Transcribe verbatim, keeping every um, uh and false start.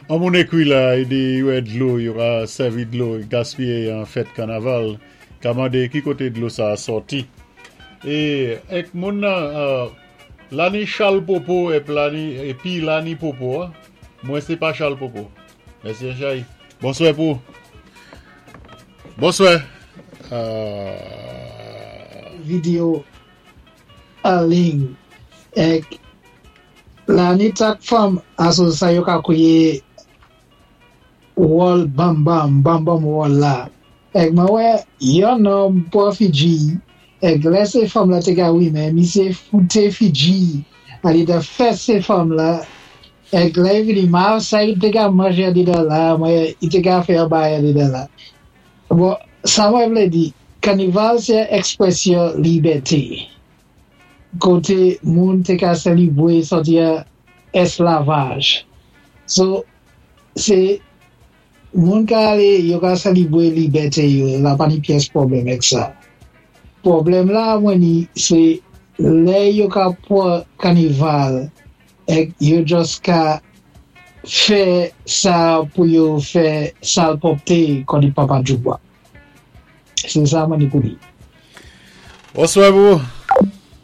An moun ékwi la, i di wè dlo, yo ka sèvi dlo, gaspiyé an fèt kanaval, ka mandé ki koté dlo sa a sòti. É èk moun nan, euh, la ni chal popo ép la ni, épi la ni popo, an. Mwen sé pa chal popo. Mèsi Chay. Bonswè pou. Bonswè. Euh... Video an liy èk la ni tak fanm aso sa yo ka kwiyé wòl bam bam, bam bam wòl la. Èk mwen wè yon nonm pwan fidji, èk lè sé fanm la té ka wimen, misyé fouté fidji, alidan fèsé fanm la, èk lè i vini ma sa i té ka manjé alidan la, mwen i té ka fè yon bagay alidan la. Bon, sa mwen vlé di, kanival sé èkspwésyon libèté. Koté moun té ka sélébwé sòti an èsklavaj. So, sé moun ka alé, yo ka sélébwé libèté yo, la pa ni pyès pwoblèm èk sa. Pwoblèm la mwen ni, sé lè yo ka pwan kanival èk yo just ka fè sa pou yo fè salpwòpté kon di Papa Djoubwa. Sé sa mwen ni pou di. Bonswè pou.